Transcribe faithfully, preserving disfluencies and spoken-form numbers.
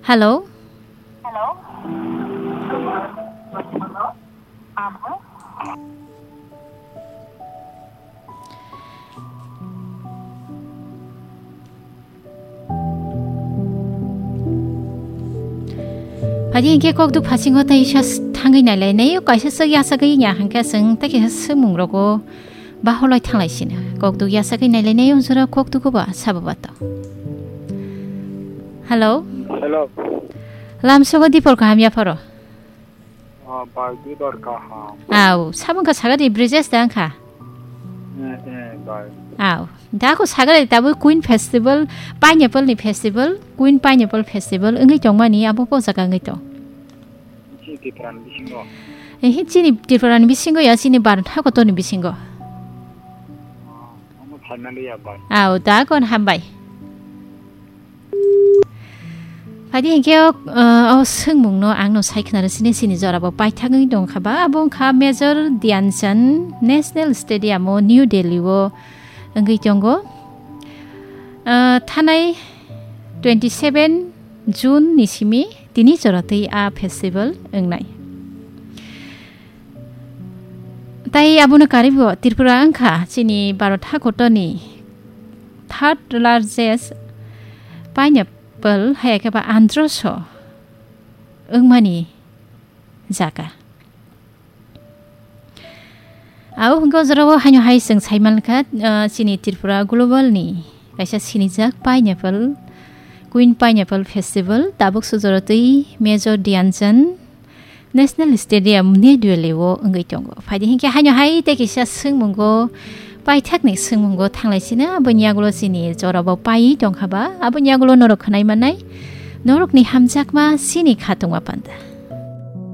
Hello. Phadi hinkhe kokduk phasingo tei sa s-, thangwi nailainai, kaisa swk yasagwi ya hinkhe chwng tei kaisa swngmung rogo baholai thanglai sino. Kokduk yasagwi nailainai, o jora kokduk ba sabo bato. Hello. Hello. Lamsogo dipor kaham yapharo. Ah, bai, dipor kaham. Au, sabung ka sagadi Brijesh da wngkha. Eh, eh, bai. Au, da ko sagadi tabuk Queen Festival, Pineapple ni festival, Queen Pineapple Festival wngwi tongmani abo po jaga wngwi tong. Chini Tripura ni bisingo. Eh, chini Tripura ni bisingo ya, chini Bharat hakotor ni bisingo. Ah, omo phaimani ya bai. Au, da kon hambai. Phadi hinkhe o, o swngmungno ang no sai khna rw sini, sini jora bo paithak wngwi tong kha ba, abo wngkha Major Dhyan Chand National Stadium o New Delhi o wngwi tongo. Ah, thanai twenty seven June ni simi tini jora twi a festival wngnai. Tai abono karibo Tripura wngkha chini Bharat hakotorni third largest pineapple, hai khe ba androso wngmani jaga. Abo hwnkhe o jorao haino hai chwng sai mankha, ah, chini Tripura Global ni kaisa sinijak pineapple, Queen Pineapple Festival, tabuk sujoro twi Major Dhyan Chand National Stadium New Delhi o wngwi tongo. Phaidi hinkhe haino hai tei kisa swngmungo, paithakni swngmungo thanglai sino, aboni yagulo chini jorabo pai tongkha ba, aboni yagulo norok khwnai manai, norokni hamjakma chini khatungma panda.